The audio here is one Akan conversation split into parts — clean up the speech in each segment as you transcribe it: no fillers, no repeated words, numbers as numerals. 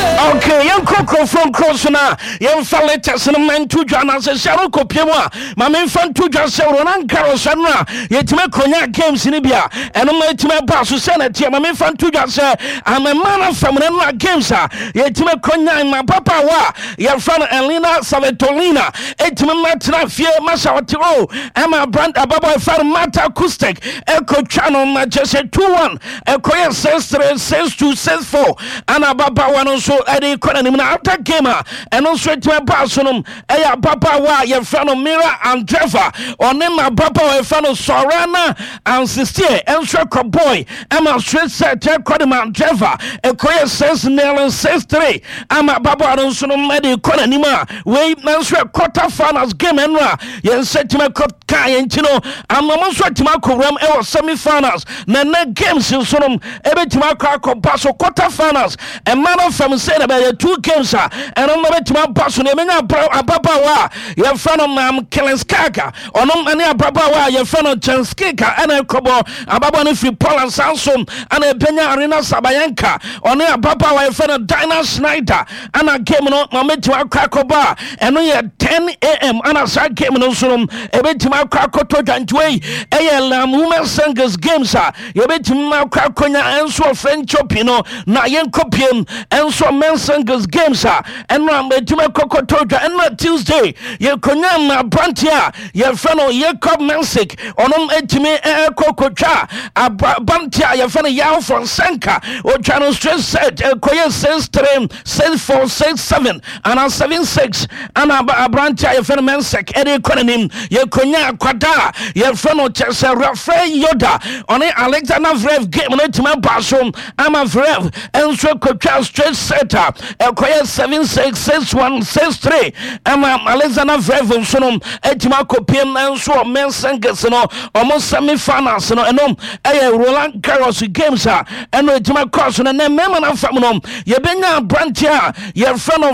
Okay, yɛnkɔ nkurɔfoɔ nkuro so na yɛmfa letters no ma nto dwa na sɛ sɛ no kɔpie mu a ma memfa nto dwa sɛ Roland Garros no a yɛtumi akɔnya games no bi a ɛno ma ɛtumi aba so sɛ na ɛteɛ. Ma memfa nto dwa sɛ amema no famuna no a games a yɛtumi akɔnya ma papaawa a yɛfrɛ no Elena Savetolina ɛtumi ma tena fie ma sɛ ɔte o ɛma abrant ababɔ ɛfrɛ no Marta Kustek ɛkɔtwa no ma kyɛ sɛ 2-1, ɛkɔyɛ 6-3, 6-2, 6-4 ana ababaawa no nso ɛde kɔ n'anim. Na after game a ɛno nso ɛtumi ɛbaa so no, ɛyɛ ababaawa a yɛfrɛ no Mira Andreva, ɔne ma ababaawa yɛfrɛ no Sorana Ansistie ɛnso ɛkɔ boy ɛma straight set ɛkɔ de ma Andreva, ɛkɔyɛ 6-0, 6-3 ama ababaawa no nso no ɛde kɔ n'anim a wei nso ɛ quarter finals game ɛno a yɛn nsa tumi ɛkɔ kaa yɛn ti no ama mo nso atumi akɔ wuram ɛwɔ semi finals. Na ɛnɛ games nso no ɛbɛtumi akɔ akɔba so. Quarter finals ɛma no fam sɛ na bɛyɛ two games a ɛno no bɛtumi aba so. Na ɛmɛnya ababaawa a yɛfrɛ no Mam Kelenskaga, ɔno ne ababaawa a yɛfrɛ no Jenskika ɛna ɛkɔbɔ. Ababaawa no firi Poland. Saa nso ɛna ɛbɛnya Arena Sabayenka, ɔne ababaawa a yɛfrɛ no Dina Schneider ana game no ma mɛtumi akɔ akɔbɔ a ɛno yɛ 10 a.m. Ana saa game no nso no ɛbɛtumi akɔ akɔtɔ dwantoa yi. Ɛyɛ lam women singles games a yɛbɛtumi akɔ akɔnya ɛnso wɔ French Open no. Na yɛnkɔ piem ɛnso men singles games a ɛno a bɛtumi akɔkɔtɔ dwa. Ɛno a Tuesday yɛkɔnya ma aberanteɛ a yɛfrɛ no Jacob Mensik, ɔno ɛtumi ɛkɔ kɔtwa aberanteɛ a yɛfrɛ no Yaw Fonsenka, ɔtwa no straight set, ɛkɔyɛ 6-3, 6-4, 6-7 ana 7-6 ana aberanteɛ a yɛfrɛ no Mensik ɛde kɔ n'anim. Yɛkɔnya akwada a yɛfrɛ no kyɛ sɛ Rafael Yoda, ɔne Alexander Zverev game no atumi aba so ama Zverev nso kɔtwa straight set a ɛkɔyɛ 7-6, 6-1, 6-3 ama Alexander Zverev nso no atumi akɔpiem nso wɔ men's singles no ɔmo semi finals no. Ɛno ɛyɛ Roland Garros games a ɛno atumi akɔ so no. Ɛnɛ mmarima no afam no, yɛbɛnya aberanteɛ a yɛfrɛ no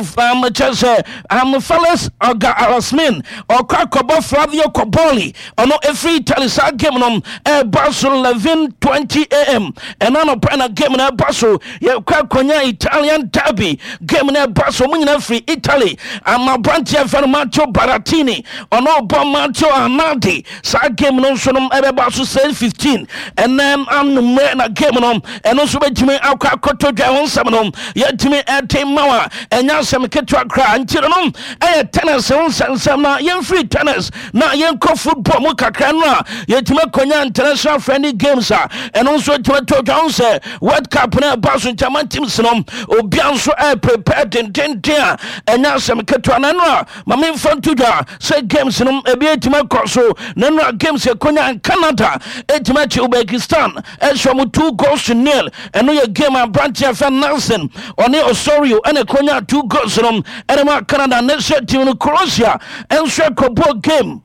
kyɛ sɛ Felix Auger-Aliassime, ɔkɔ akɔbɔ Flavio Cobolli, ɔno ɛfiri Italy. Saa game no ɛba so 11:20 a.m. Ɛno anɔpa na game no ɛba so. Yɛkɔ akɔnya Italian derby game no ɛba so, ɔmo nyinaa firi Italy ama aberanteɛ fɛ no Matteo Berrettini, ɔno ɔbɔ Matteo Arnaldi. Saa game no nso no ɛbɛba so 6:15 ɛnɛ anummerɛ na game no ɛno nso bɛtumi akɔ akɔtɔ dwa. Ho nsɛm no yɛtumi ɛte ma wa ɛnyɛ asɛm ketewa koraa. Nti no ɛyɛ tennis ho nsɛnsɛm. Na yɛmfiri tennis na yɛnkɔ football mu kakra no a yɛtumi akɔnya international friendly games a ɛno nso tumi to dwa ho sɛ World Cup no ɛba so nkyɛma teams no obia nso ɛprepare dendenden a ɛnyɛ asɛm ketewa. Na ɛno a ma memfa nto dwa sɛ games no ebi atumi akɔ so. Na ɛno a games ɛkɔnya, Canada ɛtumi akyi Uzbekistan ɛhyɛ ɔmo 2 goals to 0. Ɛno yɛ game aberanteɛ fɛ Nelson, ɔne Osorio ɛna ɛkɔnya two goals no ɛne ma Canada national team no. Croatia ɛnso ɛkɔbɔ game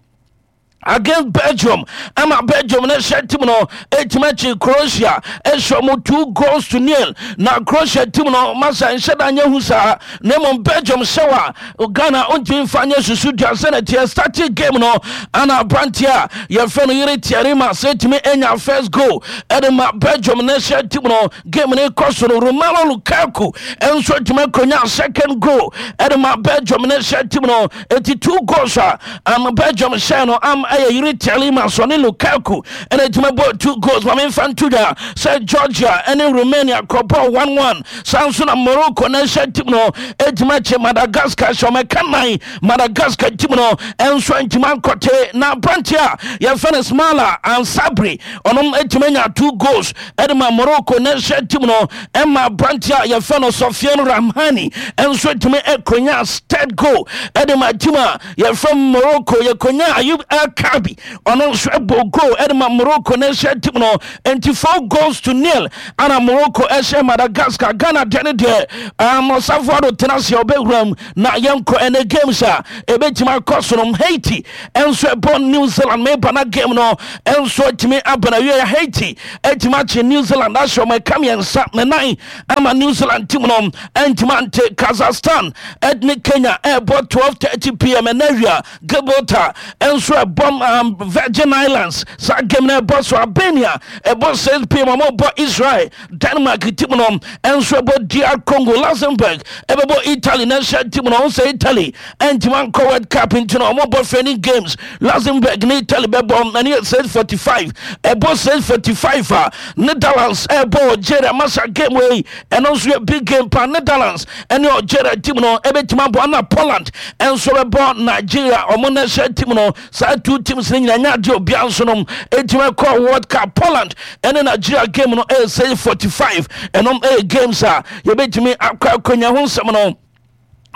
against Belgium ama Belgium ne hyɛ team no ɛtumi akyi Croatia ɛhyɛ ɔmo 2 goals to 0. Na Croatia team no masa nhyɛ da nyɛ hu saa, na mmom Belgium hyɛ wa Ghana ɔntumi mfa nyɛ susu dua sɛ na teɛ. Starting game no ana aberanteɛ a yɛfrɛ no Youri Tielemans sɛ ɛtumi anya first goal ɛde ma Belgium ne hyɛ team no. Game no kɔ so no, Romelu Lukaku ɛnso atumi akɔnya second goal ɛde ma Belgium ne hyɛ team no. Eti two goals a Belgium hyɛ no am ɛyɛ Youri Tielemans ɔne Lukaku ɛna ɛtumi bɔ two goals. Ma memfa nto dwa sɛ Georgia ɛne Romania kɔbɔ 1-1. Saa nso na Morocco na ɛhyɛ team no ɛtumi akye Madagascar hyɛ ɔmɛka nan. Madagascar team no ɛnso ntumi ankɔte. Na aberante a yɛfɛ no Ismaila Ansabri, ɔnom ɛtumi anya two goals ɛde ma Morocco na ɛhyɛ team no. Ɛma aberante a yɛfɛ no Sofiane Rahmani ɛnso ɛtumi ɛkonya third goal ɛde ma team a yɛfrɛ Morocco. Yɛkonya Ayub El Kabi, ɔno nso ɛbɔ goal ɛde ma Morocco na ɛhyɛ team no. Nti 4 goals to 0 ana Morocco ɛhyɛ Madagascar. Ghana deɛ ne deɛ ɔsafo ado tena ase a ɔbɛwura mu. Na yɛnkɔ ɛnɛ games a ɛbɛtumi akɔ so no. Haiti ɛnso ɛbɔ New Zealand. Meba na game no ɛnso atumi aba na wie. Haiti atumi akye New Zealand ahyɛ ɔmo ɛka mmiɛnsa ne nan ama New Zealand team no ɛntumi ante. Kazakhstan ɛne Kenya ɛbɔ 12:30 p.m. ɛnɛ awia. Gibraltar ɛnso ɛbɔ. ɛbɛbɔ Virgin Islands. Saa game no ɛbɔ so. Albania ɛbɔ 6 p.m., ɔmo bɔ Israel. Denmark team no ɛnso ɛbɔ DR Congo. Luxembourg ɛbɛbɔ Italy national team no. Ɔmo sɛ Italy ɛntumi ankɔ World Cup nti no, ɔmo bɔ friendly games. Luxembourg ne Italy bɛbɔ, ɛne yɛ 6:45. Ɛbɔ 6:45 a, Netherlands ɛbɔ Algeria. Masa, game wei ɛno nso yɛ big game pa. Netherlands ɛne Algeria team no ɛbɛtumi abɔ, ana Poland ɛnso bɛbɔ Nigeria, ɔmo national team no. Saa two teams no nyinaa nyɛ adeɛ obiara nso no ɛtumi ɛkɔ World Cup. Poland ɛne Nigeria game no ɛyɛ 6:45. Ɛnom ɛyɛ games a yɛbɛtumi akɔ akɔnya ho nsɛm no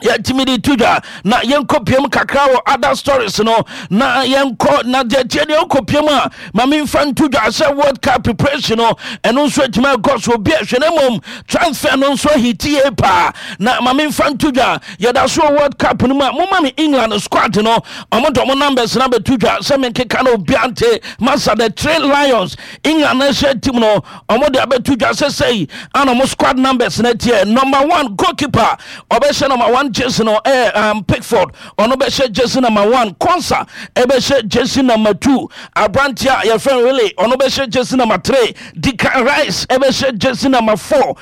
yɛtumi de to dwa. Na yɛnkɔ piem kakra wɔ other stories no, na yɛnkɔ na deɛ tie deɛ wokɔ piem a, ma memfa nto dwa sɛ World Cup preparation no ɛno nso atumi akɔ so. Obi ahwɛ no mmom transfer no nso ahitie paa. Na ma memfa nto dwa, yɛda so wɔ World Cup no mu a, moma me England squad no, ɔmo de ɔmo numbers no abɛto dwa sɛ menkeka no obia nte. Masa, the Three Lions, England national team no, ɔmo de abɛto dwa sɛ sɛi ana ɔmo squad numbers no teɛ. Number one, goalkeeper ɔbɛhyɛ number one jersey no ɛyɛ Pickford, ɔno bɛhyɛ jersey number one. Konsa ɛbɛhyɛ jersey number two. Aberanteɛ a yɛfrɛ no Willy, ɔno bɛhyɛ jersey number three. Declan Rice ɛbɛhyɛ jersey number four.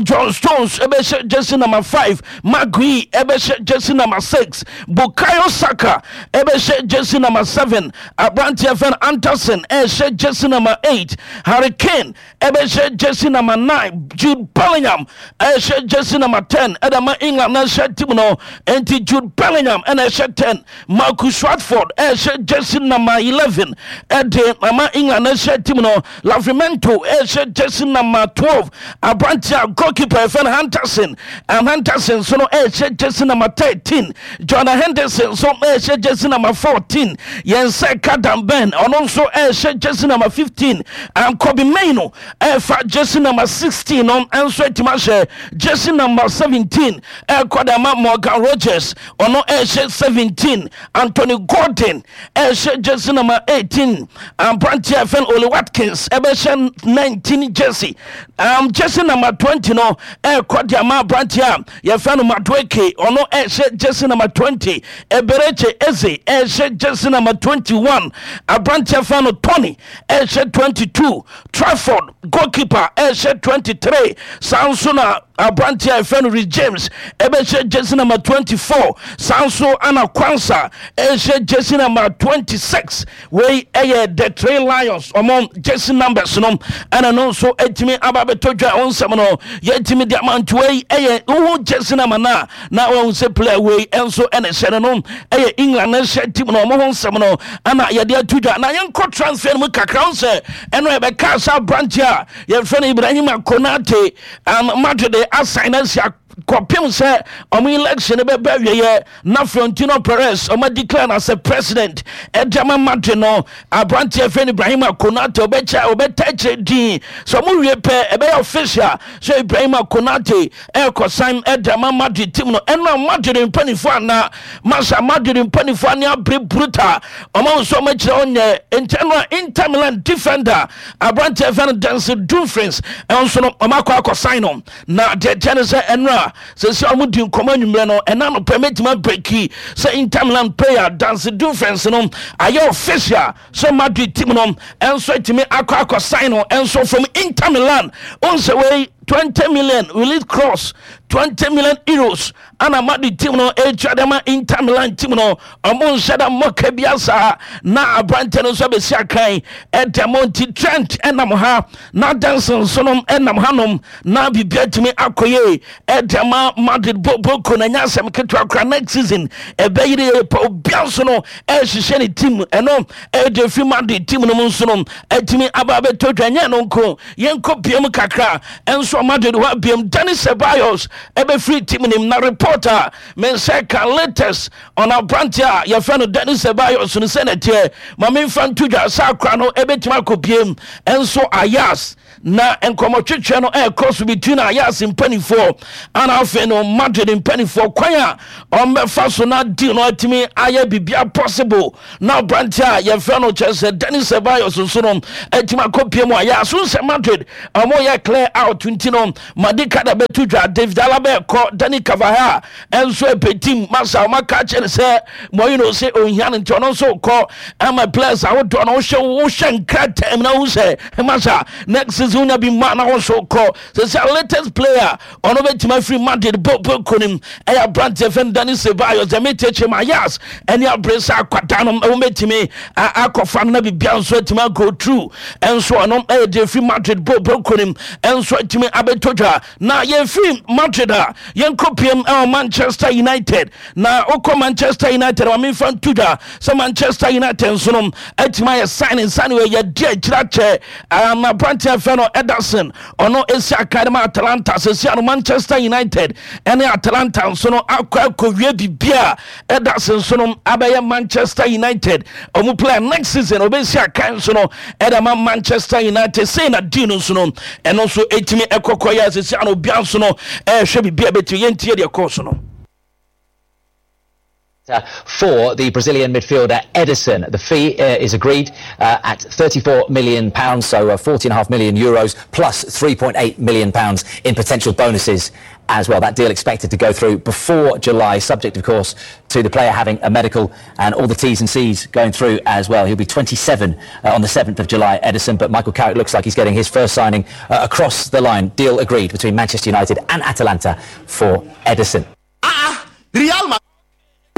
John Stones ɛbɛhyɛ jersey number five. Maguire ɛbɛhyɛ jersey number six. Bukayo Saka ɛbɛhyɛ jersey number seven. Aberanteɛ fɛn Anderson ɛhyɛ jersey number eight. Harry Kane ɛbɛhyɛ jersey number 9. Jude Bellingham ɛhyɛ jersey number 10 ɛda ma England national team no. Nti Jude Bellingham ɛna ɛhyɛ 10. Marcus Rashford ɛhyɛ jersey number 11 ɛde ama England national team no. Livramento ɛhyɛ jersey number 12. Aberanteɛ a goalkeeper ɛfɛ no Henderson, Henderson nso no ɛhyɛ jersey number 13. Jordan Henderson nso ɛhyɛ jersey number 14. Yɛn nsa ka Dan Burn, ɔno nso ɛhyɛ jersey number 15. Kobbie Mainoo ɛfa jersey number 16 no nso atumi ahyɛ. Jersey number 17 ɛkɔ de ama Morgan Rogers, ɔno ɛhyɛ 17. Anthony Gordon ɛhyɛ jersey number 18. Aberanteɛ ɛfɛn Oli Watkins ɛbɛhyɛ 19 jersey. Jersey number 20 no ɛkɔ de ama aberanteɛ a yɛfrɛ no Madueke, ɔno ɛhyɛ jersey number 20. Eberechi Eze ɛhyɛ jersey number 21. Aberanteɛ fɛn no Tony ɛhyɛ 22. Trafford goalkeeper ɛhyɛ 23. Saa nso na aberanteɛ a yɛfrɛ no Reece James ɛbɛhyɛ jersey number 24. Saa nso ana Quansah ɛhyɛ jersey number 26. Wei ɛyɛ the Three Lions ɔmo jersey numbers no, ɛna no nso ɛtumi aba abɛtɔ dwa. Ɛho nsɛm no yɛtumi de ama. Nti wei ɛyɛ wohu jersey number no a, na wɔn sɛ player wei ɛnso ɛna ɛhyɛ no ɛyɛ England ɛhyɛ team no, ɔmo ho nsɛm no ɛna yɛde ato dwa. Na yɛnkɔ transfer no mu kakra ho sɛ ɛno yɛbɛka sɛ aberanteɛ a yɛfrɛ no Ibrahima Konate, Madrid asan no asi kɔpem sɛ ɔmo election no bɛbɛ awieɛ na Florentino Perez ɔmo declare no as a president ɛde ama Madrid no. Aberanteɛ fɛ no Ibrahima Konate ɔbɛkyɛ ɔbɛta akyerɛ din sɛ ɔmo wie pɛ, ɛbɛyɛ official sɛ Ibrahima Konate ɛrekɔ san ɛde ama Madrid team no. Ɛno a Madrid mpanimfoɔ ana masa, Madrid mpanimfoɔ ane abere brutal, ɔmo nso ɔmo akyerɛ ɔnyɛ nkyɛn no a Inter Milan defender aberanteɛ fɛ no Denzel Dumfries ɛnso no, ɔmo akɔ akɔ no. Na deɛ kyɛ no sɛ ɛno a sɛsɛ ɔmo di nkɔmɔ anwummerɛ no, ɛna no pɛ mɛtumi abreak sɛ Inter Milan player Denzel Dumfries no ayɛ official sɛ Madrid team no ɛnso atumi akɔ akɔ sign no ɛnso from Inter Milan. Ɔnsɛ wei 20 million release clause, €20 million ana Madrid team no ɛtwa de ma Inter Milan team no. Ɔmo nhyɛ da mmɔka bi saa na aberante no nso abɛsi akan ɛda mo. Nti Trent ɛnam ha na Denzel nso no ɛnam hanom na biribi atumi akɔ yie ɛda ma Madrid boko na nya asɛm ketewa kora. Next season ɛbɛyere yɛ pa, obia nso no ɛhyehyɛ ne team. Ɛno ɛde fi Madrid team no mu nso no atumi aba abɛtɔ dwa. Nyɛ no nko, yɛnkɔ biam kakra ɛnso Madrid hɔ abiam. Dani Ceballos ɛbɛfiri team nim na report a me nsa ka latest on aberante a yɛfrɛ no Dani Ceballos no sɛ nɛteɛ, ma memfa nto dwa sɛ akora no ɛbɛtumi akɔ biem ɛnso Ajax. Na nkɔmmɔtwetwe no ɛrekɔ so between Ajax mpanimfoɔ ana afei no Madrid mpanimfoɔ kwan a ɔmbɛfa so na deal no atumi ayɛ biribiara possible na aberante a yɛfrɛ no kyerɛ sɛ Dani Ceballos nso no atumi akɔpie mu Ajax so sɛ Madrid ɔmo yɛ clear out nti no Madi Kada bɛto dwa, David Alaba ɛkɔ, Dani Carvajal ɛnso ɛpɛ masa ɔmo aka kyerɛ no sɛ Mourinho sɛ ohia no nti ɔno nso kɔ ama players ahodoɔ no wohyɛ nkrataa mu na wohu sɛ masa next season wonya bi ma na wo nso kɔ sɛ sɛ latest player ɔno bɛtumi afiri Madrid bɔ kɔ ɛyɛ aberanteɛ fɛn Dani Ceballos deɛ metekyɛ ma Ajax ɛne abere sɛ akwadaa no ɛwo bɛtumi akɔfa no na biribia nso atumi ago through. Ɛnso ɔno ɛyɛ deɛ firi Madrid bɔ kɔ ɛnso atumi abɛtɔ dwa. Na yɛfiri Madrid a, yɛnkɔ piem ɛwɔ Manchester United. Na wokɔ Manchester United ma memfa nto dwa sɛ Manchester United nso no atumi ayɛ signing signing wɔ yɛdi akyirɛ akyɛ aberanteɛ fɛ no Ederson. Ɔno ɛsi aka de ma Atalanta. Sɛsi ano Manchester United ɛne Atalanta nso no akɔ akɔwie biribi a Ederson nso no abɛyɛ Manchester United ɔmo player. Next season ɔbɛsi aka nso no ɛde ma Manchester United. Sei na deal no nso no ɛno nso ɛtumi ɛkɔkɔ yɛ. Sɛsi ano obia nso no ɛhwɛ biribi a bɛtumi yɛntie deɛ ɛkɔɔ so no. For the Brazilian midfielder Ederson. The fee is agreed at £34 million, so €40.5 million plus £3.8 million in potential bonuses as well. That deal expected to go through before July, subject, of course, to the player having a medical and all the T's and C's going through as well. He'll be 27 on the 7th of July, Ederson, but Michael Carrick looks like he's getting his first signing across the line. Deal agreed between Manchester United and Atalanta for Ederson. Real Madrid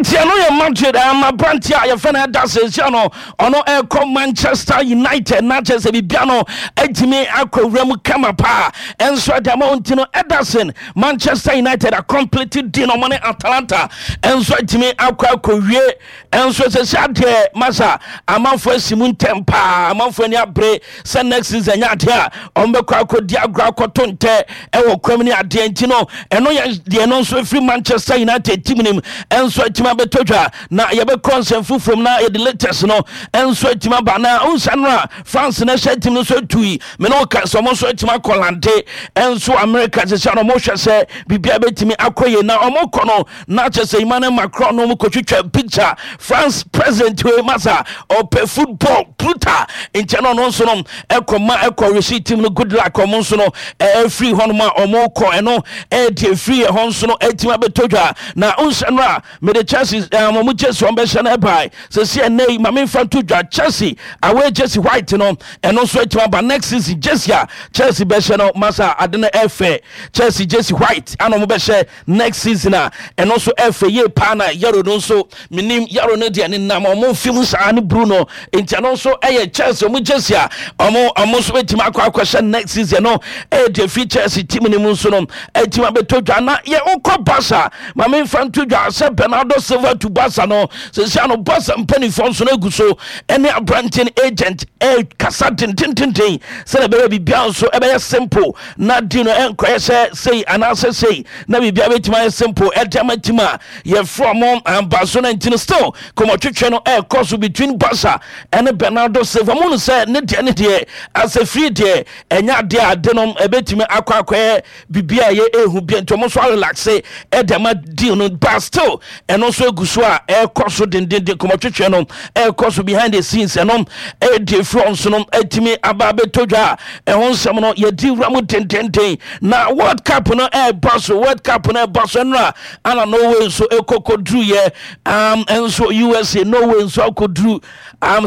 nti ɛno yɛ Madrid ama aberante a yɛfɛ no ɛda sɛsia no ɔno ɛkɔ Manchester United na kyerɛ sɛ biribia no atumi akɔ wura mu kama paa. Ɛnso ɛde ama wo nti no Ederson, Manchester United acomplete deal no, ɔmo ne Atalanta ɛnso atumi akɔ akɔwie. Ɛnso sɛsia adeɛ masa amanfoɔ asi mu ntɛm paa. Amanfoɔ ani abere sɛ next season nyɛ adeɛ a ɔmo bɛkɔ akɔdi agorɔ akɔto ntɛ ɛwɔ kwam ne adeɛ. Nti no ɛno yɛ deɛ no nso ɛfiri Manchester United team nim ɛnso atumi abɛtɔ dwa. Na yɛbɛkɔ nsɛm foforɔ mu na yɛde latest no ɛnso atumi aba. Na wonsa no a France no hyɛ team no nso atui mene woka sɛ ɔmo nso atumi akɔ lande ɛnso America. Sɛ sɛ no ɔmo hwɛ sɛ biribia bɛtumi akɔ yie na ɔmo kɔ no na kyɛ sɛ Emmanuel Macron no ɔmo kɔtwitwa picture. France president wei masa ɔpɛ football brutal nkyɛn no ɔno nso no ɛkɔ ma ɛkɔ resi team no good luck. Ɔmo nso no ɛfiri hɔnom a ɔmo kɔ ɛno ɛdi efiri ɛhɔ nso no ɛtumi abɛtɔ dwa. Na nhyɛ no a mede Chelsea ɔmo jersey ɔmo bɛhyɛ no ɛbae sɛsi ɛnɛ yi maame nfa nto dwa Chelsea away jersey white no ɛno nso ɛtumi aba. Next season jersey a Chelsea bɛhyɛ no masa ade no ɛfɛ. Chelsea jersey white ana ɔmo bɛhyɛ next season a ɛno nso ɛfɛ yie paa. Na yellow no nso menim yellow no deɛ ne nam ɔmo mfim saa ne blue no nti ɛno nso ɛyɛ Chelsea ɔmo jersey a ɔmo nso bɛtumi akɔ akɔhyɛ next season no. Ɛyɛ deɛ fi Chelsea team ne mu nso no ɛtumi abɛtɔ dwa. Na yɛ wokɔ Barca maame nfa nto dwa sɛ Bernardo Silva to Barca no sɛsia no Barca mpanimfoɔ nso no agu so ɛne aberanteɛ no agent ɛkasa dendendenden sɛdeɛ ɛbɛyɛ biribiara nso ɛbɛyɛ simple na di no ɛnkɔyɛ sɛ sei anaasɛ sei na biribiara bɛtumi ayɛ simple ɛde ama team a yɛfrɛ ɔmo amba so no. Nti no still kɔmɔtwetwe no ɛkɔ so between Barca ɛne Bernardo Silva mu no sɛ ne deɛ asɛ firi deɛ ɛnyɛ adeɛ a ade no ɛbɛtumi akɔ akɔyɛ biribi a ɛyɛ ehu bia nti ɔmo nso arelax ɛde ama deal no, but still ɛno nso egu so a ɛkɔ so dendenden. Kɔmɔtwetwe no ɛkɔ so behind the scenes. Ɛno ɛdi efiri ɔnso no ɛtumi aba abɛtɔ dwa a ɛho nsɛm no yɛdi wura mu dendenden. Na World Cup no ɛɛba so, World Cup no ɛɛba so. Ɛno a ana Norway nso ɛkɔkɔduru yɛ nso USA, Norway nso akɔduru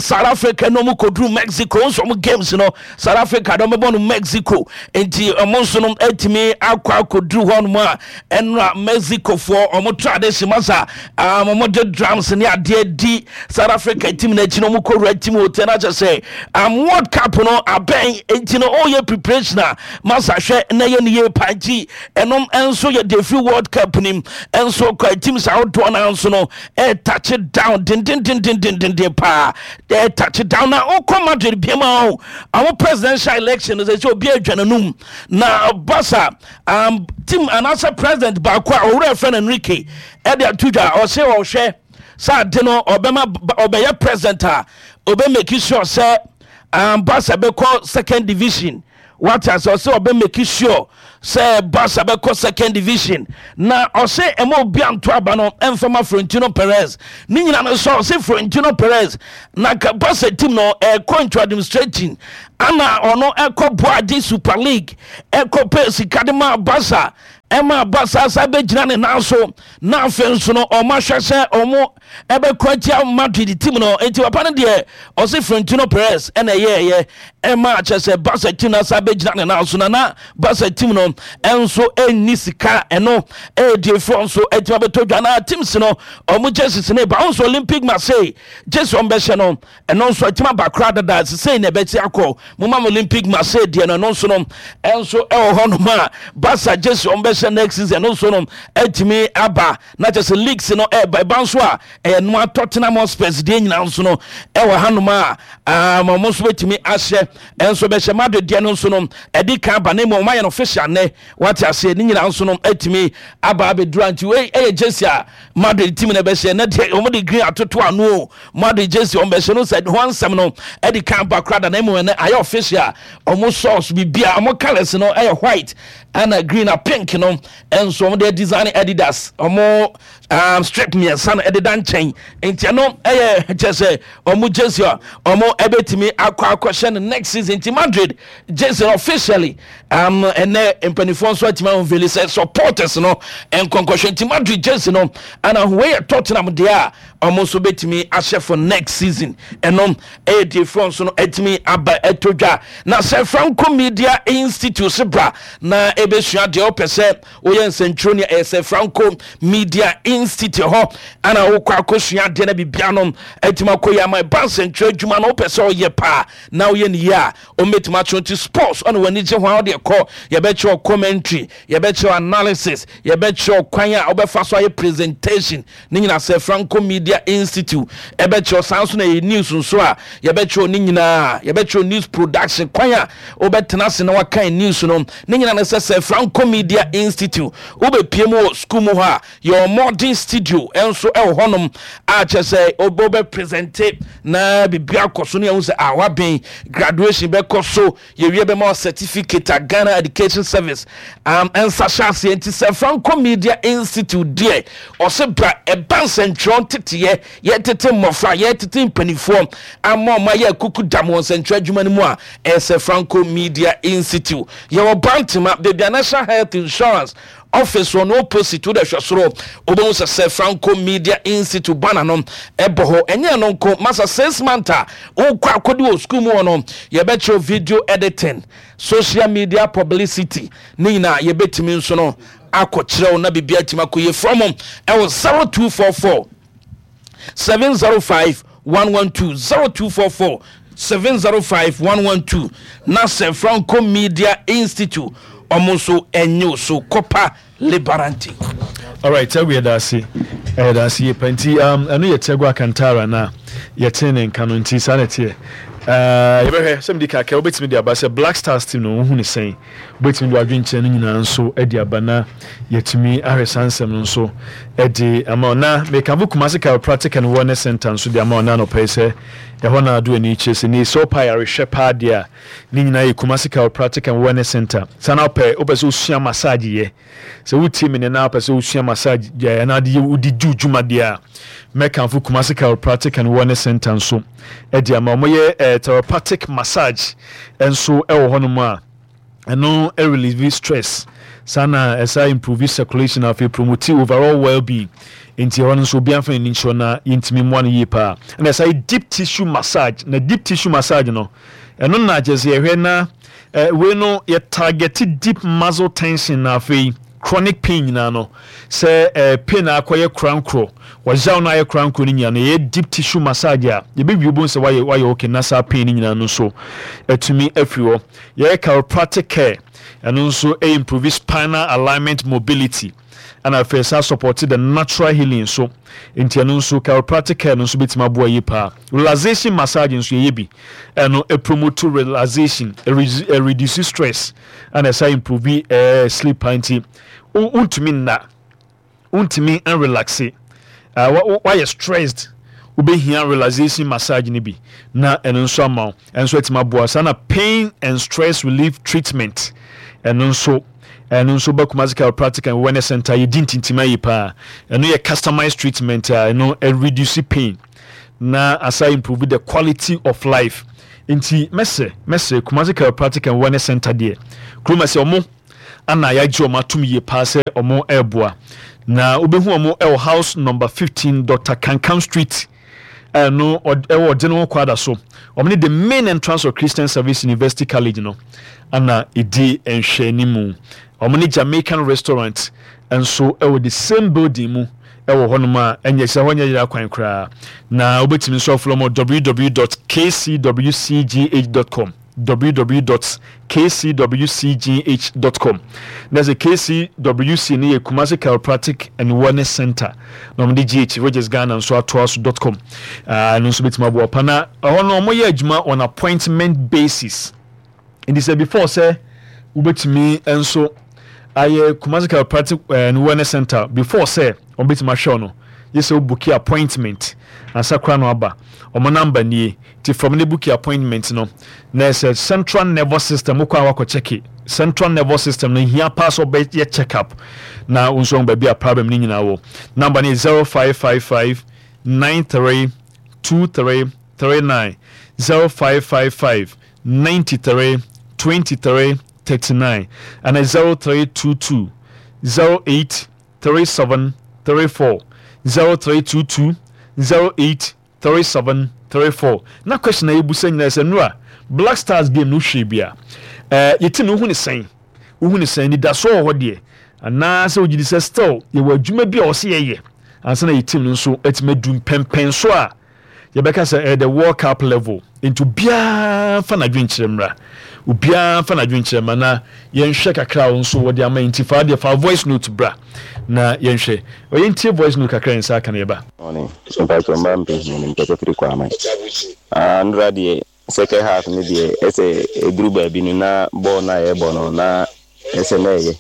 South Africa na ɔmo kɔduru Mexico nso. Ɔmo games no South Africa na ɔmo bɔ no Mexico nti ɔmo nso no atumi akɔ akɔduru hɔnom a ɛnora Mexico foɔ ɔmo tradition masa ɔmo de drums ne adeɛ di South Africa team n'akyi na ɔmo kɔwura team hotel na kyerɛ sɛ World Cup no abɛn nti no ɔyɛ preparation a masa hwɛ na yɛ ne yie pa. Nti ɛnom nso yɛ de firi World Cup nim nso kɔ teams ahodoɔ no nso no ɛtouch down dendendendendenden paa, ɛtouch down. Na wokɔ Madrid biama o ɔmo presidential election no sɛ obi adwa n'anum na Barca team anaasɛ president baako a ɔwura fɛ no Enrique ɛde ato dwa. Ɔsɛ ɔhwɛ sɛ ade no ɔbɛma ɔbɛyɛ president a ɔbɛ make sure sɛ Barca bɛkɔ second division. Wate ase? Ɔsɛ ɔbɛ make sure sɛ Barca bɛkɔ second division na ɔsɛ ɛma obi anto aba no ɛmfa ma Florentino Perez. Ne nyina no sɛ ɔsɛ Florentino Perez na nka Barca team no ɛkɔ into administrating ana ɔno ɛkɔ boa gye Super League ɛkɔ pɛ sika de ma Barca ɛma Barca sa bɛgyina ne nan so na afei nso no ɔmo ahwɛ sɛ ɔmo ɛbɛkɔ atia Madrid team no. Nti papa no deɛ ɔse Florentino Perez ɛna ɛyɛɛyɛ ɛma kyɛ sɛ Barca team no asa bɛgyina ne nan so na Barca team no ɛnso ɛnni sika. Ɛno ɛyɛ deɛfoɔ nso ɛtumi abɛtɔ dwa na teams no ɔmo jerseys no ba nso Olympic Marseille jersey ɔmo bɛhyɛ no, ɛno nso ɛtumi aba koraa dada sesei na ɛbɛti akɔ moma Olympic Marseille deɛ no. Ɛno nso no ɛnso ɛwɔ hɔ nom a Barca jersey ɔmo bɛhyɛ next season, ɛno nso no ɛtumi aba na kyɛ sɛ leagues no ɛba ɛba nso a ɛyɛ noa Tottenham Hotspurs deɛ nyinaa nso no ɛwɔ hanom a ɔmo nso bɛtumi ahyɛ ɛnso bɛhyɛ. Madrid deɛ no nso no ɛdi kan aba ne mu ɔmo ayɛ no official nɛ. Wate aseɛ? Ne nyinaa nso no ɛtumi aba abɛdura. Nti wei ɛyɛ jersey a Madrid team na ɛbɛhyɛ na deɛ wɔn de green atoto ano o. Madrid jersey wɔn bɛhyɛ no sɛ ho ansɛm no ɛdi kan ba koraa da na emu ɛnɛ ayɛ official. Wɔn socks bibia wɔn colours no ɛyɛ white ɛna green na pink no ɛnso wɔn de design Adidas wɔn strip mmiɛnsa no ɛdeda nkyɛn. Nti ɛno ɛyɛ kyɛ sɛ wɔn jersey a wɔn ɛbɛtumi akɔ akɔhyɛ no next season. Nti Madrid jersey no officially ɛnɛ mpanimfoɔ nso atumi ahunveli sɛ supporters no nkɔnkɔhwɛ. Nti Madrid jersey no ana wei yɛ Tottenham deɛ a wɔn nso bɛtumi ahyɛ for next season. Ɛno ɛyɛ deefoɔ nso no atumi aba ɛtɔ dwa na sɛ Franco Media Institute se bra na ɛbɛsua deɛ wopɛ sɛ woyɛ nsɛntwerɛ ni. Ɛyɛ sɛ Franco Media Institute hɔ ana wokɔ akɔsua adeɛ na biribia no atumi akɔ yi ama ɛba. Nsɛntwerɛ adwuma no wopɛ sɛ ɔyɛ paa na woyɛ ne yie a, ɔmbɛtumi akyerɛ. Nti sports ɔne w'ani gye ho a, wode kɔ, yɛbɛkyerɛ commentary, yɛbɛkyerɛ analysis, yɛbɛkyerɛ kwan a wobɛfa so ayɛ presentation ne nyinaa. Sɛ Franco Media Institute ɛbɛkyerɛ saa nso na yɛ news nso a, yɛbɛkyerɛ ne nyinaa. Yɛbɛkyerɛ news production, kwan a wobɛtena ase na wakan news no ne nyinaa no. Sɛ Franco Media Institute wobɛpie mu wɔ school mu hɔ a, yɛwɔ modern studio nso ɛwɔ hɔnom a kyerɛ sɛ wobɛ present na biribi akɔ so ne yɛhu sɛ a wabɛn graduation bɛkɔ so. Yɛwie bɛma wɔ certificate a Ghana Education Service nsa hyɛ aseɛ. Nti sɛ Franco Media Institute deɛ, ɔsɛ bra ɛba nsɛntwerɛ nteteyɛ, yɛtete mmɔfra, yɛtete mpanimfoɔ ama ɔma yɛ kuku dam wɔ nsɛntwerɛ adwuma no mu a, ɛyɛ sɛ Franco Media Institute. Yɛwɔ Bantama, baabi a National Health Insurance office wɔ no opposite. Wode hwɛ soro, wobɛhu sɛ Franco Media Institute banner no ɛbɔ hɔ. Ɛnyɛ no nko masa, 6 month a wokɔ akɔdi wɔ school mu hɔ no, yɛbɛkyerɛw video editing, social media publicity ne nyinaa. Yɛbɛtumi nso no akɔkyerɛw na biribi atumi akɔ yɛ. From ɛwɔ 0244 705 112, 0244 705 112 na sɛ Franco Media Institute ɔmo nso ɛnye so Copa Liberante. Alright, ɛwɔ yɛda ase, ɛyɛda ase yie pa. Nti ɛno yɛ Tiago Alcantara na yɛtee ne nka no. Nti saa na ɛteɛ. Yɛbɛhwɛ sɛ mede kakra wobɛtumi de aba sɛ Black Stars team no wohu ne sɛn. Wobɛtumi de wadwenkyerɛ no nyinaa nso de aba na yɛatumi ahwɛ saa nsɛm no nso de ama wo. Na mekamfo Kumasi Chiropractic and Wellness Center nso de ama wo na anɔpa yi sɛ ɛhɔ na ado ani kyerɛ sɛ ne sɛ wopɛ ayarehwɛ paa deɛ a, ne nyinaa yɛ Kumasi Chiropractic and Wellness Center. Saa na wopɛ sɛ wosua massage yɛ, sɛ wotie me ne na wopɛ sɛ wosua massage yɛ anaa de yɛ wode di dwuma deɛ a, mɛkamfo Kumasi Chiropractic and Wellness Center nso de ama. Wɔyɛ therapeutic massage nso wɔ hɔnom a ɛno relieve stress, saa na ɛsa improve circulation, afei promote overall well-being. Nti ɛhɔ no nso obiara mfa n'ani nkyerɛ na yɛntumi mmoa no yie paa. Ɛna ɛsa yɛ deep tissue massage, na deep tissue massage no, ɛno na kyerɛ sɛ yɛhwɛ na wei no yɛ target deep muscle tension na afei chronic pain nyinaa no, sɛ pain a akɔyɛ korankorɔ, wɔyaw no ayɛ korankorɔ no nyinaa no, yɛyɛ deep tissue massage a, yɛbɛwie bohu sɛ wayɛ okay na saa pain no nyinaa no nso atumi afiri hɔ. Yɛyɛ chiropractic care, ɛno nso improve spinal alignment, mobility, ɛna afei saa support the natural healing nso. Nti ɛno nso chiropractic care no nso bɛtumi aboa yie paa. Relaxation massage nso yɛyɛ bi, ɛno promote relaxation, reduce stress, ɛna ɛsa improve sleep paa. Nti wontumi nna, wontumi nrelaxe, wayɛ stressed, Wobɛhia relaxation massage no bi na ɛno nso ama wo, ɛno nso atumi aboa. Saa na pain and stress relief treatment, ɛno nso ɛno nso ba Kumasi Chiropractic and Wellness Center yɛdi ntintim ayi paa. Ɛno yɛ customized treatment a ɛno reduce pain na asa improve the quality of life. Nti mɛsrɛ mɛsrɛ Kumasi Chiropractic and Wellness Center deɛ kurom ɛsɛ ɔmo ana yɛagye wɔn atom yie paa sɛ wɔn reboa. Na wobɛhu wɔn wɔ house number 15 Dr. Kankam Street ɛno ɛwɔ ɔgye ne ho kwada so. Wɔn ne the main entrance of Christian Service University College no ana ɛdi nhwɛanimu. Wɔn ne Jamaican restaurant nso ɛwɔ the same building mu ɛwɔ hɔnom a ɛnyɛ sɛ hɔ nyɛ yera kwan koraa. Na wobɛtumi nso afolo wɔn www.kcwcgh.com. www dot kcwcgh dot com na sɛ KCWC no yɛ Kumasi Chiropractic and Wellness Center na wɔde GH which is Ghana nso atoa so dot com ah, ɛno nso bɛtumi aboa pa na ɛhɔ no wɔyɛ adwuma on appointment basis nti sɛ before sɛ wobɛtumi nso ayɛ Kumasi Chiropractic eh, and Wellness Center before sɛ wɔbɛtumi ahwɛ no yɛ sɛ wobuki appointment ansa koraa na waba wɔn number nie Nti from ne booki appointment no na ɛsɛ central nervous system wokɔ a wakɔ check central nervous system no hia paa sɛ ɔbɛyɛ check up na wo nso baabi a problem no nyinaa wɔ. Number no yɛ 0555 93 23 39 0555 93 23 39 ana 0322 08 37 34 0322 08 3734 Na question a yɛbusa nyinaa sɛ Nura, Black Stars game no wohwɛɛ bi a, eh, yɛ team no wohu ne sɛn? Wohu ne sɛn? Anidasoɔ wɔ hɔ deɛ? Anaa sɛ wogye di sɛ still yɛwɔ adwuma bi a ɔsɛ yɛyɛ ansa na yɛ team no nso atumi adu mpɛmpɛnso a yɛbɛka sɛ ɛyɛ the World Cup level. Nti obiara mfa n'adwenkyerɛ mmra. Obiara mfa n'adwenkyerɛ mmra na yɛnhwɛ kakra a wo nso wɔde ama yɛn. Nti fa deɛ fa voice note bra na yɛnhwɛ. Ɔyɛ ntie voice note kakra yɛn nsa aka na yɛba. Morning mpakyɛw mma mpɛ hia no mpakyɛw firi kwaman ah ndora deɛ second half no deɛ ɛsɛ ɛduru baabi no na bɔɔl no a yɛbɔ no na ɛsɛ na ɛyɛ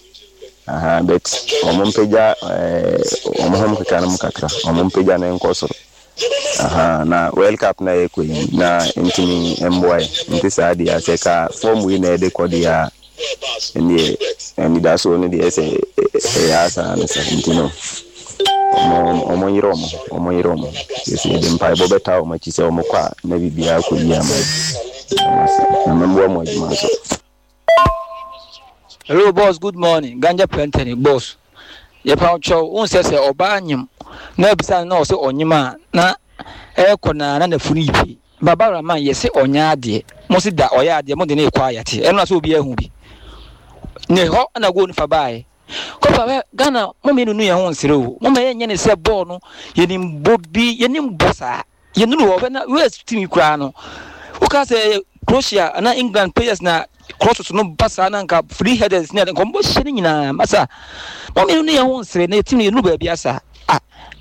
aha but wɔn mpagya ɛɛ wɔn hom keka no mu kakra wɔn mpagya no nkɔ soro aha na world cup na yɛkɔ yi na ntumi mboa yɛ nti saa deɛ asɛ ka fɔm wei na yɛde kɔ deɛ a Ɛndeɛ anidasoɔ no deɛ sɛ ɛyɛ asa no sa nti no ɔmo nyere ɔmo ho ɔmo nyere ɔmo ho yɛsɛ yɛde mpaebɔ bɛtaa ɔmo akyi sɛ ɔmo kɔ a na biribiara akɔ yie ama yɛn na mɛmboa mo adwuma nso. Hello boss good morning ganja plantani boss yɛpa wo kyɛw wohu sɛ sɛ ɔbaa nyem na abisa no na ɔsɛ ɔnyem a na ɛkɔ na na nafunu yi pii Baba Rahman yɛse ɔnyɛ adeɛ mo se da ɔyɛ adeɛ mo de no rekɔ ayate ɛno na sɛ obiara hu bi ne hɔ na goal no fa baeɛ kɔfa bɛ Ghana mo mmienu nu yɛn ho nsere o mo ma yɛnyɛ ne sɛ bɔɔl no yɛnim bɔ bi yɛnim bɔ saa yɛnuru hɔ bɛ na US team koraa no woka sɛ Croatia ana England players na crosses no ba saa na nka free headers ne ade nka wɔn bɛhyɛ no nyinaa masa mo mmienu nu yɛn ho nsere na team no yɛnuru baabi asa ah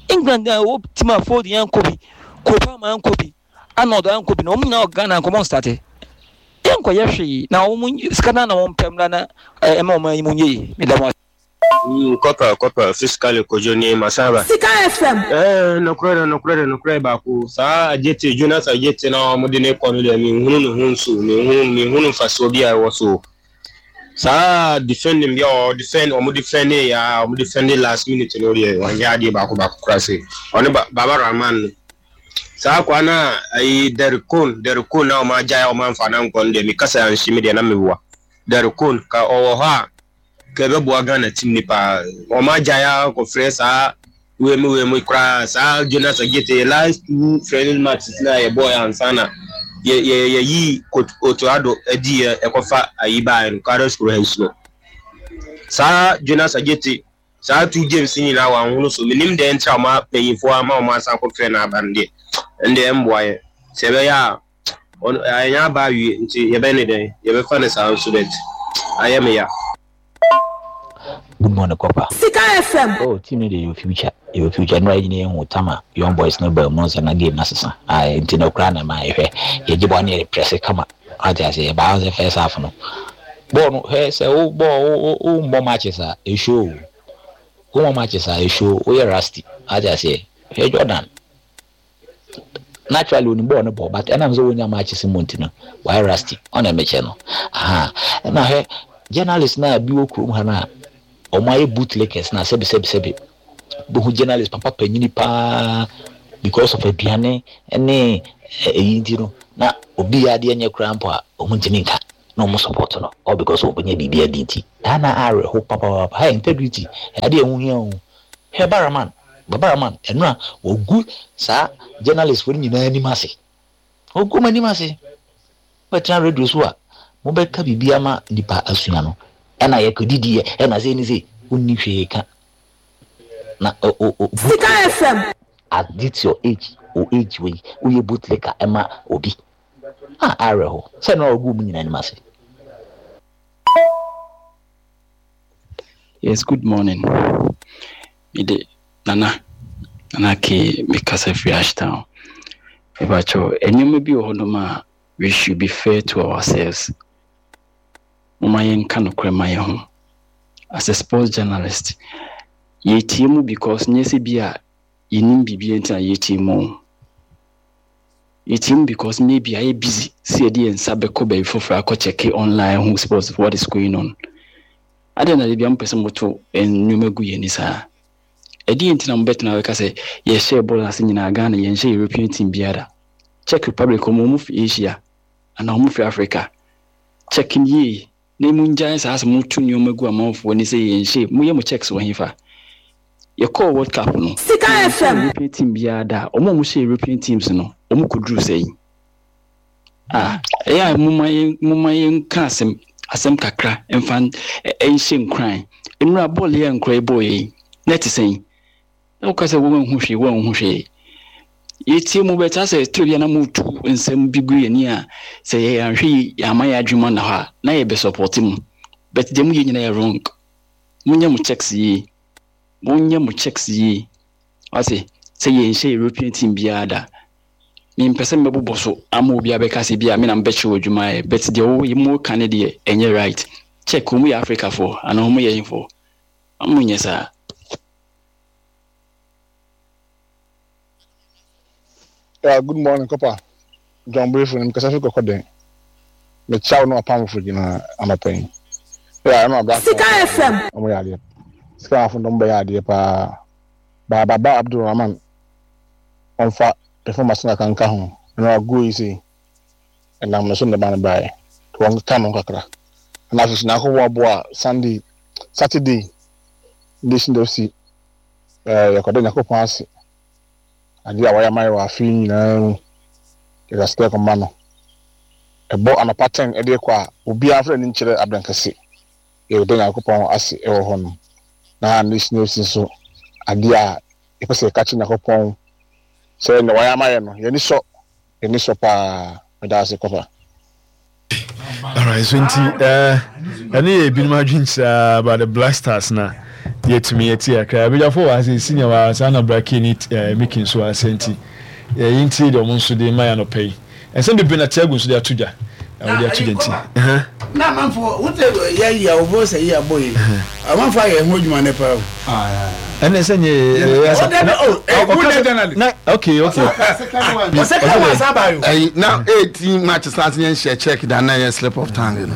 England na ɛwɔ team a fold yɛn kɔ bi Kopama ankɔ bi, Arnold ankɔ bi na wɔn nyinaa wɔ Ghana nkɔmɔ nstate. Yɛnkɔyɛ hwee na wɔn sika no na wɔn pɛ mmra na ɛma wɔn ayi mu nyɛ yie. Meda mo ase. Mm, Corporal, Corporal, physically Kojo nie, Masaba. Sika FM. Eh, nokorɛ dɛ, nokorɛ dɛ, nokorɛ baako. Saa Adjetey, Jonas Adjetey na wɔde no kɔ no deɛ, menhunu ne ho nso, menhunu, menhunu mfasoɔ bi a ɛwɔ so. Saa defending bi a ɔ defend, wɔn defend yɛ a, wɔn defend last minute no deɛ, wɔnyɛ adeɛ baako baako koraa se. Ɔne ba, Baba Rahman no. Saa akwaa no a ayi Derrick Kohn, Derrick Kohn na wɔn agyae a wɔn amfa no ankɔ no deɛ, me kasa anhye me deɛ na meboa. Derrick Kohn, ka ɔwɔ hɔ a, ka ɛbɛboa Ghana team no paa. Wɔn agyae a kɔfrɛ saa wei mu wei mu koraa saa Jonas Adjetey last two friendly matches na yɛbɔɔ yɛ ansa na yɛ yɛ yɛyi Otto Addo adi yɛ ɛkɔfa ayi baeɛ no Carlos Queiroz no. Saa Jonas Adjetey saa two games nyinaa wanhono so menim deɛ nti a wɔn mpanyinfoɔ ama wɔn asan akɔfrɛ no aba no deɛ ɛndeɛ ɛmboa yɛn sɛ ɛbɛyɛ a ɔno ɛnyɛ aba awie nti yɛbɛyɛ ne dɛn yɛbɛfa no saa nso but ayɛ me ya. Good morning Copper. Sika FM. Oh team no deɛ yɛwɔ future yɛwɔ future nnora yi nyina yɛhu tam a young boys no baa mu no sɛ na game no asesa ae nti no koraa na ɛma yɛhwɛ yɛgye bɔɔl no yɛde prɛse kama wate aseɛ yɛbaa sɛ first half no bɔɔl no hwɛ sɛ wo bɔɔl wo wo mmɔ matches a ɛshow o wo mmɔ matches a ɛshow woyɛ rusty wate aseɛ hwɛ Jordan. Naturally onim bɔɔl no bɔ but ɛnam sɛ wɔnya matches mu nti no wayɛ rusty. Ɔna mekyɛ no. Aha. Ɛna hwɛ journalist no a bi wɔ kurom ha no a wɔn ayɛ bootlickers na sɛbi sɛbi sɛbi bohu journalist papa panyini paa because of aduane ne eyi nti no na obi yɛ adeɛ nyɛ koraa mpo a wɔn ntumi nka na wɔn support no all because wɔn bɛnya biribi adi nti daa na awerɛho papaapa. Hey, integrity ɛyɛ adeɛ ɛho hia o. Hwɛ Baraman, Baraman ɛno a wɔgu saa journalist fo no nyinaa anim ase, wɔgu wɔn anim ase. Mobɛtena radio so a mobɛka biribi ama nnipa asua no, ɛna yɛkɔdidiiɛ, ɛna sei ne sei, wonni hwee ka. Na o o o Sika FM. At this your age, o age wei, woyɛ bootlicker ɛma obi. Ah, awerɛho. Sɛ ɛno a wɔgu wɔn nyinaa anim ase. Yes, good morning. Me de Nana, Nana K, me kasa firi Ashtown. Mepakyɛw, nneɛma bi wɔ hɔnom a we should be fair to ourselves. Momma yɛnka nokorɛ ma yɛn ho. As a sports journalist, yɛtie mu because nyɛ sɛ bi a yɛnim biribi nti na yɛtie mu o. Yɛtie mu because maybe ayɛ busy sɛ yɛde yɛn nsa bɛkɔ baabi foforɔ akɔ check online ho sports what is going on. Adɛn na da mopɛ sɛ moto nneɛma gu yɛn ani saa? Ɛdeɛn nti na mobɛtena bɛka sɛ yɛhyɛɛ bɔɔl ase nyinaa Ghana yɛnhyɛ European team biara da? Czech Republic wɔn wɔn fi Asia anaa wɔn fi Africa? Check no yie na mongyae saa sɛ moto nneɛma gu amanfoɔ ani sɛ yɛnhyɛ moyɛ mo checks wɔ hefa? Yɛkɔɔ World Cup no Sika yɛnhyɛ FM. European team biara da. Wɔn a wɔhyɛ European teams no wɔn kɔduru sɛn? Ah, ɛyɛ a momma yɛn momma yɛnka asɛm asɛm kakra mfa nhyɛ nkuran. Nnura bɔɔl yi a nkura yi bɔɔ yi, na ɛte sɛn? Na woka sɛ wɔnhu hwee, wɔnhu hwee. Yɛtie mu bɛta sɛ toro bi a na motu nsɛm bi gu yɛn ani a sɛ yɛyɛ anhwɛ yi yɛama yɛn adwene mu anna hɔ a na yɛbɛsɔpɔte mu. But deɛ moyɛ nyinaa yɛ wrong. Monyɛ mo checks yie. Monyɛ mo checks yie. Wate sɛ yɛnhyɛ European team biara da. Mempɛ sɛ mɛbobɔ so ama obi abɛka sɛ bi a me na mebɛkyerɛ wo adwuma ayɛ but deɛ wo mo ka no deɛ ɛnyɛ right. Check wɔn yɛ Africa foɔ anaa wɔn yɛ hefoɔ? Wɔn nyɛ saa. Yeah, good morning, Copper. John Brefo, I'm kasa fi kɔkɔ den. Me kyia wo no apamfo gyina anɔpa yi. Yeah, ɛno abra. Sika FM. Ɔmo yɛ adeɛ. Sika afo ndɔm bɛyɛ adeɛ paa. Ba Baba Abdulrahman ɔmfa performance no kakra nka ho. Ɛno agoɔ yi sei, ɛnam no so na ɛma no baeɛ. Nti wɔnkeka ne ho kakra. Ɛna afei nso Nyankopɔn aboa a Sunday, Saturday, Nation FC, ɛɛ yɛkɔda Nyankopɔn ase. Adeɛ a wayɛ ama yɛ wɔ afe yi nyinaa mu, yɛde aseda kɔma no. Ɛbɔ anɔpa 10 de rekɔ a, obiara mfa n'ani nkyerɛ Abrankɛse. Yɛda Nyankopɔn ase wɔ hɔ nom. Na Nation FC nso, adeɛ a yɛpɛ sɛ yɛka kyerɛ Nyankopɔn sɛ nea wayɛ ama yɛn no, yɛn ani sɔ, yɛn ani sɔ paa. Meda ase, Kɔfa. Alright, so nti eh, ɛne yɛ ebinom adwenkyerɛ about the Black Stars na yɛtumi yɛte akra abadwafo wɔ ase senior wɔ saa na Brake ne eh, Mickey nso wɔ ase nti yɛyi nti deɛ ɔmo nso de ma yɛ anɔpa yi. Nsɛm bebree na Tiago nso de ato dwa. Ɔde ato dwa nti. Na amanfo wote yɛ yi a wɔbɔ sɛ yi abɔ yi amanfo ayɛ ho adwuma ne paa o. Ɛnna sɛ nyɛ yɛ sɛ na ɔka na okay okay. Ɔsɛka wɔn asa ba yo. Ɛyi na 18 matches na ase yɛn hyɛ check da na yɛ slip of tongue no.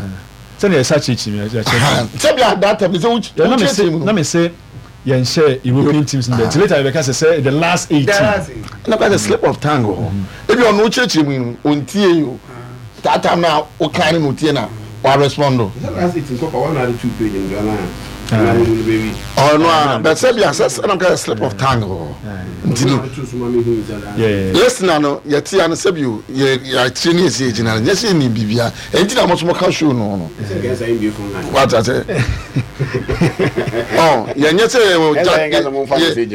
Sɛnea yɛsa kyerɛkyerɛ mu yɛkyerɛ. Sɛbi a that time sɛ wokyerɛkyerɛ mu no. Na me se yɛn hyɛ European teams no bɛ nti later yɛbɛka sɛ sɛ the last 18. Na ka sɛ slip of tongue wɔ hɔ. Ebi ɔno wokyerɛkyerɛ mu yi no ontie yi o. That time na wokan no na otie na wa respond o. Last 18 kɔpa wɔn na ade two page no do anaa ɛna mi bɛ wi. Ɔno a bɛ sɛbi a sɛ sɛ na ka sɛ slip of tongue wɔ hɔ. Nti no listener no yɛte ya no sɛbi o yɛ yɛakyerɛ ne yɛsi yɛgyina no nyɛ sɛ yɛnim biribia ɛnti na mo so moka show no no wata sɛ ɔ yɛnyɛ sɛ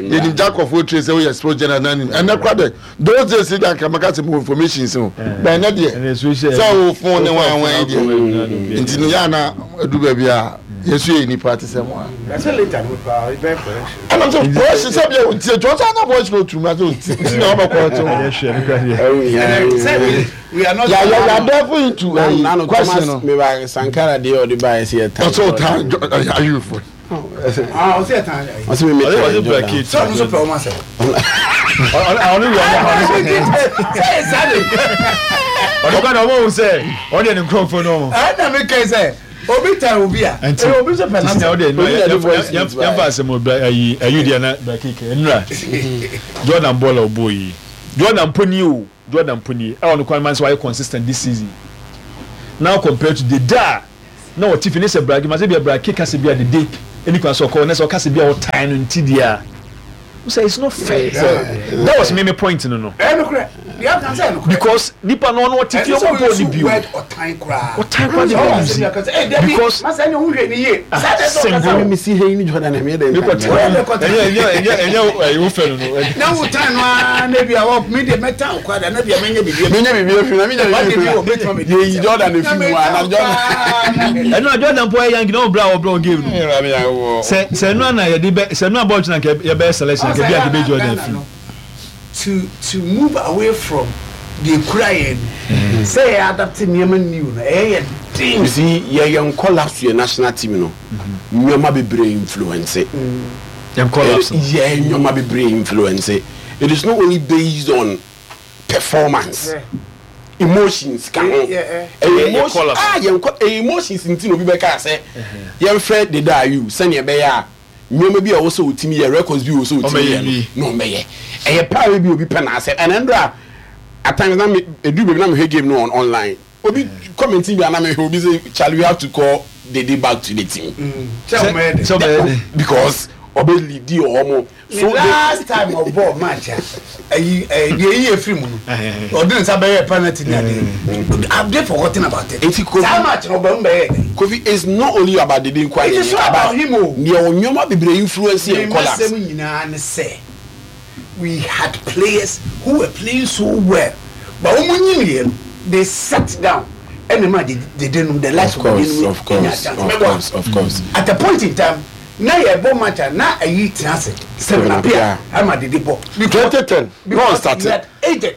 yɛnim jacob tire sɛ woyɛ sports general na nim ɛnɛ kora dɛ those days deɛ anka mɛka sɛ mewɔ information sɛ o bɛn ɛnɛ deɛ sɛ wo phone ne wan wan deɛ nti no yɛ ana adu baabi a yɛso yɛ nipa te sɛ mo a ɛna sɛ voice sɛ bia ɔntie twɛ ɔsɛ ana voice no ɔtum na sɛ ɔntie nti na ɔbɛkɔ ɛto yɛadɛfo into question no Sankara deɛ ɔde baeɛ sɛ yɛta ɔsɛ ɔta ayufo. Ah, ɔsɛ yɛ tan ayi. Ɔsɛ mi mi tan Jordan. Sɛ ɔno nso pɛ ɔmo asɛm. Ɔno wia ɔmo ɔno sɛ. Sɛ yɛ saa de. Ɔno kɔ na ɔmo ohun sɛ ɔno yɛ ne nkurɔfoɔ no ɔmo. Ɛna mi kɛ sɛ obi tan obi a. Nti obi nso pɛ n'asɛm. Ɔde yɛn fa asɛm o ayi ayi deɛ na braki kɛ nnura Jordan bɔɔl a ɔbɔ yi Jordan mpo ni o Jordan mpo ni ɛwɔ no kwan man sɛ wayɛ consistent this season now compared to the da. Na ɔte fi ne sɛ brage ma sɛ bia brage ka sɛ bia dede ɛni kwan sɛ ɔkɔ ne sɛ ɔka sɛ bia ɔtan no nti deɛ a wo sɛ it's not fair that was me me point no no because nipa no ɔno ɔte fi ɔmo bɔɔ ne bio ɔtan koraa ɔtan koraa de bɔ ɔmo si because ah single mi si hɛn ni Jordan ɛmi yɛ dɛ nkan ɛnyɛ ɛnyɛ ɛnyɛ ɛnyɛ ɛyɛ wo fɛ no no na wo tan no aa na bi a wɔ mi de mɛ tan okwa da na bi a mɛ nyɛ bibi mi nyɛ bibi efi na mi nyɛ bibi efi na yɛ yi Jordan efi mu a na Jordan ɛnu a Jordan po yɛ yanki na ɔbra ɔbrɛ ɔn game no sɛ sɛ ɛnu ana yɛde bɛ sɛ ɛnu a bɔɔl kyina nka yɛ bɛyɛ selection nka bi a nka bɛ Jordan fi. To to move away from deɛ ekura yɛn no sɛ yɛ adapt nneɛma new no ɛyɛ yɛ den. You see yɛ yɛn collapse yɛ national team no nneɛma bebree influence. Yɛn collapse no. Yɛ nneɛma bebree influence it is not only based on performance emotions ka ho ɛyɛ emotion ah yɛn kɔ ɛyɛ emotions nti na obi bɛka sɛ yɛn frɛ Dede Ayew sɛnea ɛbɛyɛ a nneɛma bi a ɛwɔ sɛ otumi yɛ records bi a ɛwɔ sɛ otumi yɛ no na ɔmɛyɛ ɛyɛ paa bi obi pɛ na asɛ ɛna ndra at times na me edu baabi na mehwɛ game no on online obi comment bi a na mehwɛ obi sɛ Charlie we have to call Dede back to the team because ɔbɛ lead ɔmo. So the last time ɔbɔɔ match a ɛyi ɛɛ deɛ eyi efiri mu no ɔde ne nsa bɛyɛ penalty ni ade have they forgotten about it Nti Kofi saa match no ɔbɛn mu bɛyɛ dɛ. Kofi it's not only about Dede nko It is not about him o. Nea nneɛma bebree influence yɛn collapse. Me masɛm nyinaa ne sɛ we had players who were playing so well but wɔn nyiniiɛ no they sat down ɛna ɛmaa Dede nom the likes of Dede nom nya chance mɛboa at a point in time. Na yɛ bɔ match a na ayi tena ase Stephen Appiah ama dede bɔ. 2010 na ɔn starte.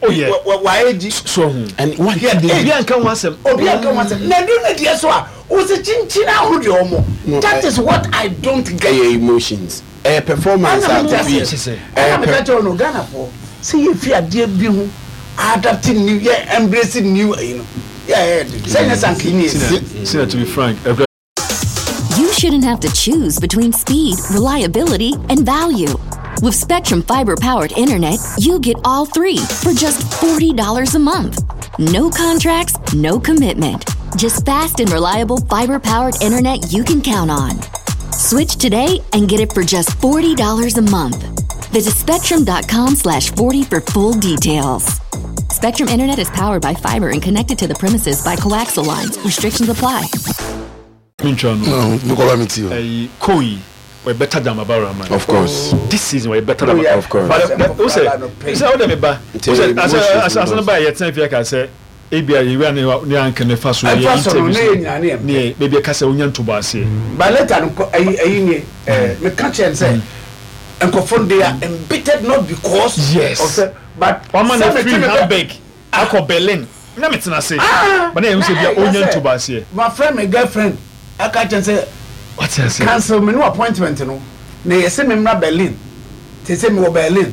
Oh yeah. Wa age. So ho. And one He had Obi age. anka ho asɛm. Obi anka ho asɛm. Na ɛduru ne deɛ so a ɔsɛ kyinkyin ahoro deɛ ɔmo. That is what I don't get. Ɛyɛ emotions. Ɛyɛ performance a Ɛna mete Kofi. aseɛ. Ɛna meka kyerɛ wo no Ghana foɔ sɛ yɛ fi adeɛ bi ho adapt new yɛ embrace new ayi no yɛ ɛyɛ den. Sɛ nyɛ sankini yɛ. Sina to be frank. You shouldn't have to choose between speed, reliability, and value. With Spectrum Fiber powered internet, you get all three for just $40 a month. No contracts, no commitment. Just fast and reliable fiber powered internet you can count on. Switch today and get it for just $40 a month. Visit spectrum.com slash 40 for full details. Spectrum Internet is powered by fiber and connected to the premises by coaxial lines. Restrictions apply. Mentwa no. No, mekɔba me ti o. Ɛyi Koi were better than Baba Rahman. Of course. This season were better than Oh, Baba. yeah. Of course. But but o sɛ sɛ o de mi ba o sɛ asɛ asɛ asɛ ne ba yɛ tɛn fi ka sɛ ebi a yewia ne ne anka ne fa so yɛ Ɛfa so no, ne yɛ interviews nyinaa ne yɛ ne yɛ beebi ɛka sɛ onya ntobo aseɛ. But later no kɔ ɛyi ɛyi nie ɛɛ meka kyerɛ no sɛ nkurɔfoɔ no they are embittered not because Yes. of sɛ but Wama na sɛ mete firi me bɛ Hamburg akɔ Berlin na me tena ase. Ah! But na yɛn sɛ Na bia ɛyɛ onya sɛ ntobo aseɛ. mafrɛ me girlfriend aka kyerɛ no sɛ Wate aseɛ. cancel me no appointment no na yɛse me mmra Berlin te sɛ mewɔ Berlin.